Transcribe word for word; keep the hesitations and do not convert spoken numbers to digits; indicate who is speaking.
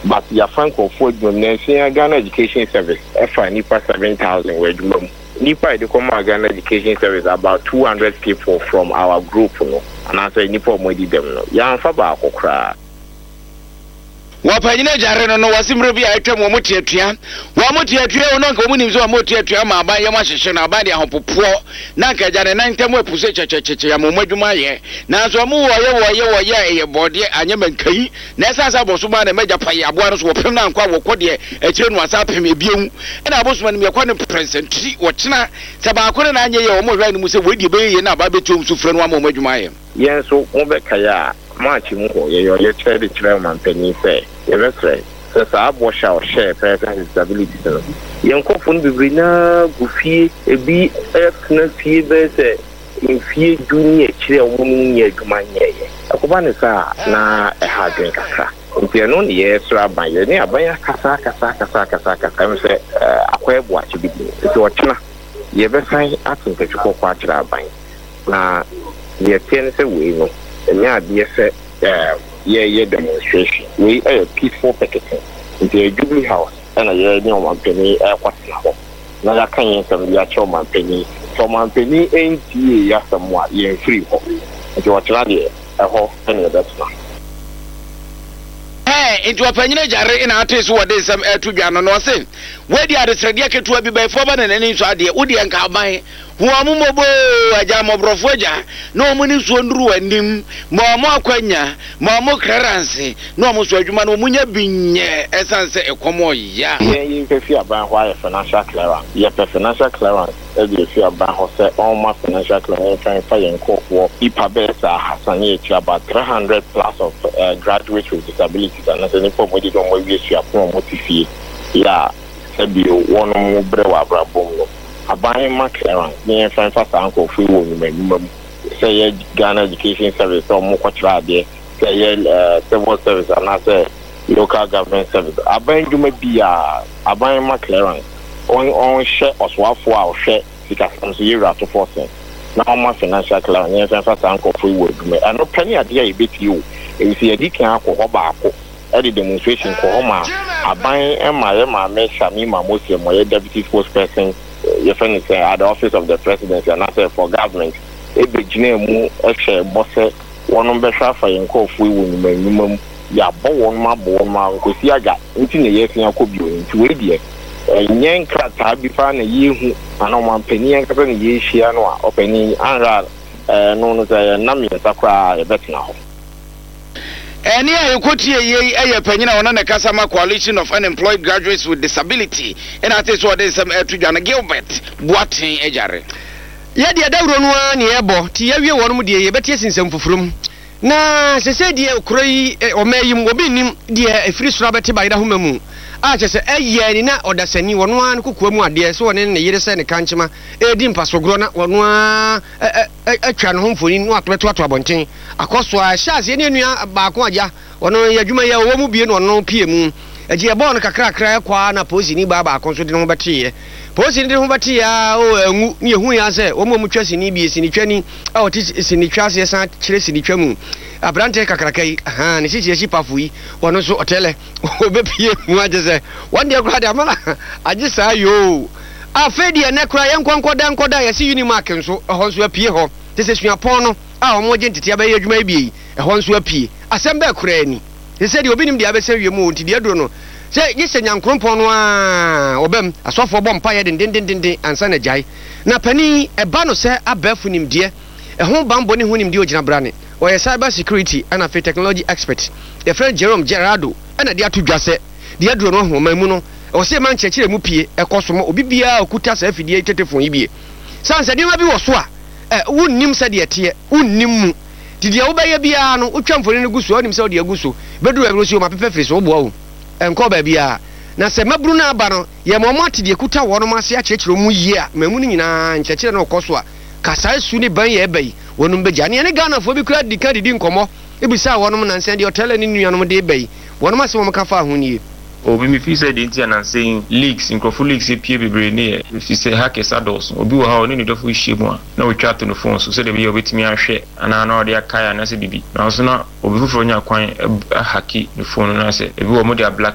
Speaker 1: But yɛafa nkurɔfoɔ adwuma mu nansia. Ghana Education Service ɛfa nipa seven thousand wɔ adwuma mu. Nipa a yɛde kɔmaa Ghana Education Service, about two hundred people from our group no, anaasɛ nipa a wɔn adi dɛm no, yɛamfa baako koraa.
Speaker 2: Wɔpanyina agyare no no wɔse mmerɛ bi a atwam wɔ mo teatua, wɔn mo teatua o, na nka wɔn nim sɛ wɔn mo teatua ma aban yɛm ahyehyɛ no, aban de ahopopoɔ na nka agya ne nan ntam apu sɛ kyɛkyɛkyɛkyɛ ama wɔn adwuma ayɛ. Nanso wɔn wɔyɛ wɔyɛ wɔyɛ a ɛyɛ bɔɔdeɛ anyɛ mankai na ɛsan sɛ abɔsoma na ɛmɛgya pa yɛ aboa no so wɔpem na ankɔ a wɔkɔ deɛ akyire no asa apem ebiewu ɛna abosoma no yɛkɔ ne prɛnsɛntiri wɔkyena sɛ baako no na anyɛ yɛ wɔn hwɛ no mu sɛ wɔadi ɛbɛyɛ yie na aba bɛtu wɔn so frɛ no ama wɔn adwuma ayɛ.
Speaker 1: Yɛn nso mobɛkae a, March mu hɔ yɛyɛ ɔyɛkyerɛ de kyerɛ ɔmanpanin sɛ yɛbɛsrɛ sɛ saa bɔhyɛ a ɔhyɛɛ persons with disabilities no, yɛn nkurɔfoɔ no bebree naa gu fie, ebi tena fie bɛyɛ sɛ mfie du ne akyire a wɔn nyɛ adwuma nyɛɛyɛ. Ɛkɔba ne saa na ɛha adwene kakra, nti ɛno ne yɛsrɛ aban. Yɛne aban akasa akasa akasa akasa akasa ɛm sɛ akɔyɛ boakye bi di, nti ɔkyena yɛbɛsan ate ntɛtwi kɔkɔɔ akyerɛ aban. Na deɛ teɛ ne sɛ wei no ɛnyɛ adeɛ sɛ yɛyɛ demonstration. Wei ɛyɛ peaceful picketing, nti ɛyɛ Jubilee House ɛna yɛne ɔmanpanin ɛrekɔtena hɔ na yɛaka yɛn nsɛm de akyerɛ ɔmanpanin. Sɛ ɔmanpanin ɛntie yɛ asɛm a, yɛmfiri hɔ, nti ɔkyena deɛ ɛhɔ ɛna yɛbɛtena.
Speaker 2: Ɛɛ nti ɔpanyin agyare na ate so wɔde nsɛm ɛto dwa no na ɔse wɔadi adesrɛdeɛ ketewa bi bɛyifoɔ ba na n'ani nso adeɛ wodeɛ nka aban hu ɔmo mmɔbɔ agya mmɔborɔfoɔ agya na ɔmo ne nsuo nnuru anim ma ɔmo akwanya ma ɔmo clearance na ɔmo so adwuma no ɔmo nya bi nyɛ, ɛsiane sɛ ɛkɔm ɔya.
Speaker 1: Yɛn yɛpɛ fi aban hɔ ayɛ financial clearance. Yɛpɛ financial clearance ɛde efi aban hɔ sɛ ɔma financial clearance mfa mfa yɛn nkurɔfoɔ nipa bɛyɛ sɛ ahasa ne yɛkyerɛ about three hundred plus of uh, graduates with disabilities, anaasɛ nipa a wɔde wɔn awie suapɔn a wɔte fie yɛ a sɛbio wɔn mo brɛ wɔ abrabɔ mu no. Aban ma clearance ne yɛmfa mfa saa nkurɔfoɔ yi wɔ nnwuma nnwuma mu, sɛ yɛ Ghana Education Service sɛ ɔmo kɔkyerɛ adeɛ, sɛ yɛ civil service anaasɛ local government service, aban dwuma bi a aban ma clearance, ɔnhyɛ ɔsoafoɔ a ɔhwɛ sikasɛm so, yɛwura atofoɔ sɛn na ɔma financial clearance ne yɛmfa mfa saa nkurɔfoɔ yi wɔ adwuma. Ɛno pɛ ne adeɛ a yɛbɛtie o, ɛfiri yɛdi kan akɔ hɔ baako ɛde demonstration kɔ hɔ ma aban ma yɛ maame Shamima Muslim, ɔyɛ deputy spokesperson, yɛfrɛ no sɛ at the Office of the Presidency anaasɛ for government, ɛbɛgyina mu ɛhyɛ bɔ sɛ wɔnom bɛhwɛ afa yɛn nkurɔfoɔ yi wɔ nnwuma nnwuma mu. Yɛabɔ wɔn abɔ wɔn a nkosi aga nti na yɛasia akɔ bio. Nti wei deɛ ɛnyɛ nkrataa bi paa na yɛhu ana ɔmampanin ankasa na yɛhyia no a ɔpanin anhwɛ a ɛno no sɛ yɛnam mmiɛnsa koraa yɛbɛtena hɔ.
Speaker 2: Ɛne a yɛkɔtie yei ɛyɛ panyin a ɔno ne kasa ma Coalition of Unemployed Graduates with Disability, ɛna ate sɛ ɔde nsɛm ɛto dwa no, Gilbert Boaten Agyare.
Speaker 3: Yɛdeɛ dawuro no ara ne yɛbɔ nti yɛawie wɔnom deɛ yɛbɛte asi nsɛm foforɔ mu. Na sɛsɛ deɛ kuro yi ɔma yi mu obi nnim deɛ ɛfiri soro abɛte bayerɛ ahoma mu a kyɛ sɛ ɛyɛ ni na ɔdasani wɔno ara no kokoa mu adeɛ sɛ wɔne ne yere sɛ ne kankyema ɛredi mpasogorɔ na wɔno ara atwa ne ho mfoni na watobɛtoato abɔnten akɔ so a ɛhyɛ aseɛ ne nua baako agya ɔno yɛ adwuma yi a ɔwɔ mu bie na ɔno pie mu agye ɛbɔɔ no kakrakra ɛkɔ a na polisini baa baako nso de ne ho bɛteeɛ. Polisini de ne ho bɛteeɛ a o ɛngu ne yɛhu yɛ sɛ wɔn a wɔtwa sini bie, sinitwani a ɔte sinitwa aseɛ san kyerɛ sinitwa mu aberanteɛ kakraka yi ahan ne sisi akyi pafo yi, ɔno nso ɔtɛlɛ ɔbɛpie mu agye sɛ wɔn deɛ koraa de ama na agye saa yoo. Afei deɛ nɛ koraa yɛn nkɔ nkɔda nkɔda yɛsi Unimac nso ɛhɔ nso apue hɔ te sɛ suapɔn no a wɔn gye ntete abɛyɛ adwuma yi bie yi, ɛhɔ nso apue. Asɛm bɛɛ koraa ni te sɛ deɛ obi nim deɛ abɛsɛn wiem o. Nti deɛ aduro no sɛ gye sɛ nyankorompɔn no a ɔbɛm asɔfoɔ bɔ mpaeɛ dendendenden ansa na gyae. Na panin ɛba no sɛ abɛɛfo nimdeɛ ɛho bambɔ ne ho nimdeɛ ogyina brane, ɔyɛ cyber security ɛna afei technology expert, yɛfrɛ no Jerome Gerardo, ɛna de ato dwa sɛ deɛ aduro no ɔman mu no ɛwɔ sɛ ɛma nkyerɛkyerɛ mu pie ɛkɔ so ma obi biara okuta saa afidie tetefon yi bie san sɛ nneɛma bi wɔ so a ɛ wonnim sɛdeɛ ɛteɛ, wonnim mu nti deɛ wobɛyɛ biara no wotwa mfoni no gu so a wonim sɛ wode agu so bɛduru baabi no si wɔn apepɛ firi so woboa wo ɛnkɔ baabiara. Na sɛ maburu no aba no yɛ ma ɔmo ate deɛ kuta wɔnom ase akyerɛkyerɛ mu yie a mamu no nyinaa nkyerɛkyerɛ no ɔkɔ so a kasaa su ne ban yɛ ɛba yi wɔnom bɛgya ne ɛne Ghanafoɔ bi kura di ka didi nkɔmmɔ ebisa wɔnom nansɛn deɛ ɔtɛlɛ ne nuanom de ba yi wɔnom asɛm wɔn ka fa ho nie.
Speaker 4: Obi mi fi sɛ deɛ nti anansɛn leaks, nkurɔfo leaks epie bebree ne yɛ fi sɛ hackers adɔɔso. Obi wɔ ha, ɔne ne dɔfo hyia mu a, na otwa ato ne phone so sɛdeɛ ɛbɛyɛ obetumi ahwɛ anaa na ɔde akae anaasɛ bibi, nanso na obi foforɔ nya kwan ahack ne phone no, na sɛ ebi wɔ mo de a black.